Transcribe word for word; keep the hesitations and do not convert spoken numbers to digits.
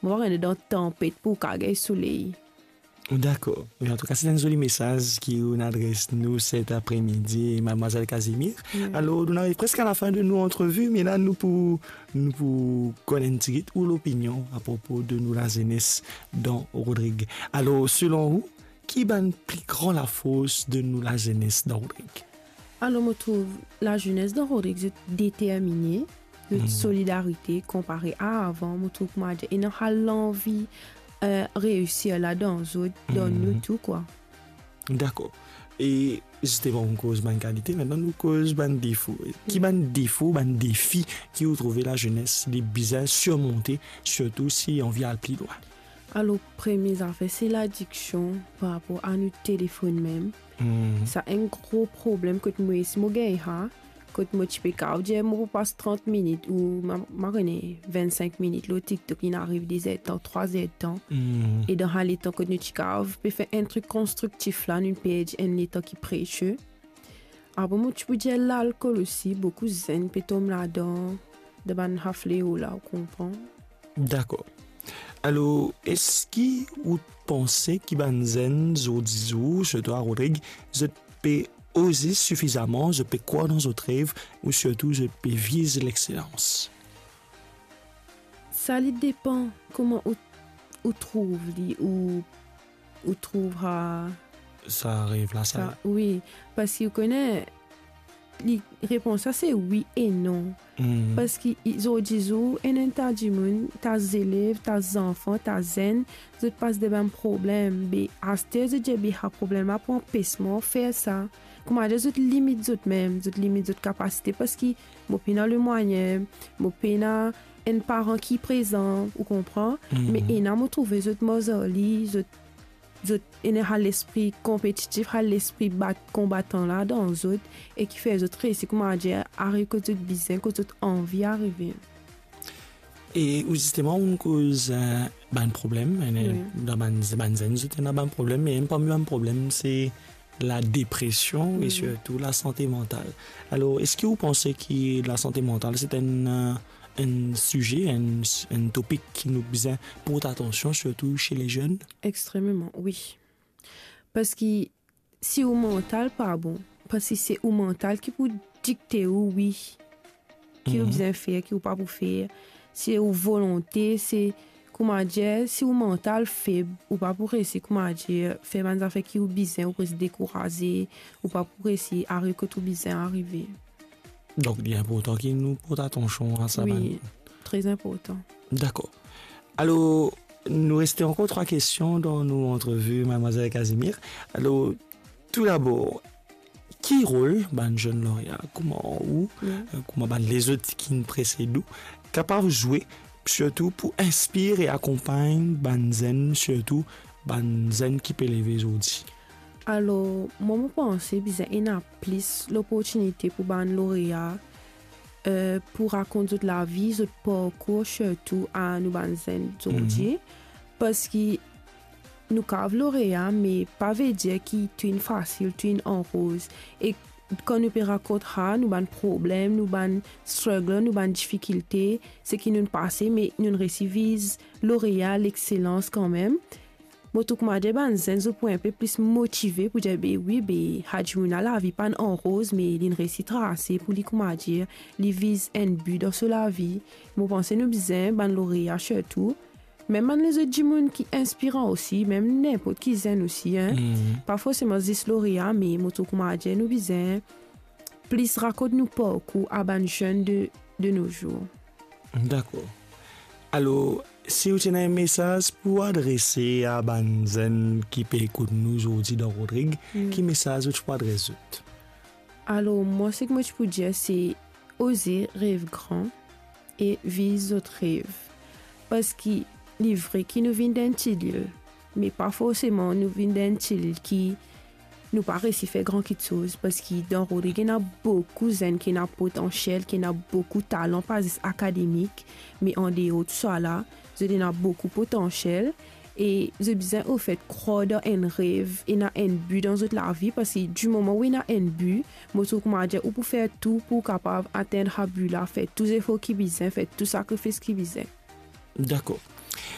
mo pa kone, dan tanpet pou ou kav gagn soley. Dakor. Wi, antouka, se enn zoli mesaz ki ou'nn adres nou set apremidi, Madmwazel Casimir. Wi. Alor, nou ariv preske a lafin de nou antrevi, me la, nou pou, nou pou konn enn tigit ou lopinion apropo de nou lazenes dan Rodrig. Alor, selon ou, ki bann pli gran lafors de nou lazenes dan Rodrig? Alor, mo trouv lazenes dan Rodrig, zot determine, zot, mhm, solidarite konpare a avan, mo trouv koumadir ena sa lanvi, eh, reisir la dan zot, dan nou, mhm, tou, kwa. Dakor. E zisteman, nou koz bann kalite, aster nou koz bann defo. Ki, mm, bann defo, bann defi ki ou trouve lazenes li bizin sirmonte, sirtou si anvi al pli lwin? Alor, premie zafer, se ladiksion par rapor a nou telefonn mem. Hmm. Sa enn gro problem kot mwa, si mo gagn sa, kot mo ti pe kav dir mo pou pas trant minit ou ma, ma kone vennsenk minit lor TikTok, inn ariv de zertan, trwa zertan. Hmm. E dan sa letan kot nou ti kav pe fer enn trik konstriktif la, nou perdi enn letan ki presie. Apre, mo ti pou dir lalkol osi, boukou zenn pe tom ladan, dan bann sa fleo la, ou konpran? Dakor. Alor, eski ou panse ki bann zenn zordi zour, sirtou a Rodrig, zot pe oze sifizaman, zot pe krwar dan zot rev, ou sirtou zot pe viz lexselans? Sa li depan kouma ou, ou trouv li, ou, ou trouv sa, sa rev la, sa, sa, wi, parski ou kone, li, repons la se wi e non. Hmm. Parski i, zordi zour, ena enn ta dimoun, ta zelev, ta zanfan, ta zenn, zot pas de bann problem. Be aster zot dir be sa problem la pou anpes mwa fer sa. Koumadir zot limit zot mem, zot limit zot kapasite, parski mo pena lemwayin, mo pena enn paran ki prezan, ou konpran? Mhm. Me ena mo trouve zot mor ar li, zot, zot ena sa lespri konpetitif, sa lespri bat, konbatan la dan zot, e ki fer zot resi, koumadir, ariv kot zot bizin, kot zot anvi arive. E ou zisteman, ou koz, eh, bann problem, eh, wi, dan bann, bann zenn, zot ena bann problem, e enn parmi bann problem, se ladepresion e, mhm, sirtou lasante mantal. Alor, eski ou panse ki lasante mantal, se enn, eh, enn size, enn, enn topik ki nou bizin port atansion, sirtou se lezenn? Extrememan, wi. Parski si ou mantal pa bon, parski se ou mantal ki pou dikte ou, wi, ki ou, mhm, bizin fer, ki ou pa pou fer. Se ou volonte, se, koumadir, si ou mantal feb, ou pa pou resi, koumadir, fer bann zafer ki ou bizin, ou pou resi dekouraze, ou pa pou resi ariv kot ou bizin arive. Donk, li inportan ki nou port atansion a sa, wi, bann, tre inportan. Dakor. Alor, nou reste ankor trwa kestion dan nou antrevi, Madmwazel Casimir. Alor, toudabor, ki rol bann zenn lorea, kouma ou, wi, eh, kouma bann lezot ki'nn presed ou, kapav zwe, sirtou pou inspir e akonpagn bann zenn, sirtou bann zenn ki pe leve zordi? Alor, mwa, mo panse bizin ena plis loportinite pou bann lorea, eh, pou rakont zot lavi, zot parkour, sirtou a nou bann zenn zordi. Mhm. Parski nou kav lorea, me pa vedir ki tou inn fasil, tou inn an roz. E kan nou pe rakont sa, nou bann problem, nou bann struggle, nou bann difikilte, seki nou'nn pase, me nou'nn resi viz lorea, lexselans kanmem. Mo trouv koumadir bann zenn, zot pou inpe plis motive pou dir, be wi, be sa dimoun la, lavi pa'nn an roz, me li'nn resi trase pou li, koumadir, li viz enn bi dan so lavi. Mo panse nou bizin bann lorea sirtou, mem bann lezot dimoun ki inspiran osi, mem ninport ki zenn osi, en. Mhm. Pa forseman zis lorea, me mo trouv koumadir nou bizin plis rakont nou parkour a bann zenn de, de nos jours. Dakor. Alor, si ou ti ena enn mesaz pou adrese a bann zenn ki pe ekout nou zordi dan Rodrig, hmm, ki mesaz ou ti pou adres zot? Alor, mwa, seki mo ti pou dir, se oze rev gran e viz zot rev. Parski li vre ki nou vinn dan enn ti lil, me pa forseman nou vinn dan enn ti lil ki nou pa resi fer gran kitsoz, parski dan Rodrig ena boukou zenn ki ena potansiel, ki ena boukou talan, pa zis akademik, me andeor tousala, zot ena boukou potansiel, e zot bizin, anfet, krwar dan enn rev, ena enn bi dan zot lavi, parski di moman ou ena enn bi, mo trouv koumadir ou pou fer tou pou kapav atenn sa bi la, fer tou zefor ki bizin, fer tou sakrifis ki bizin. Dakor.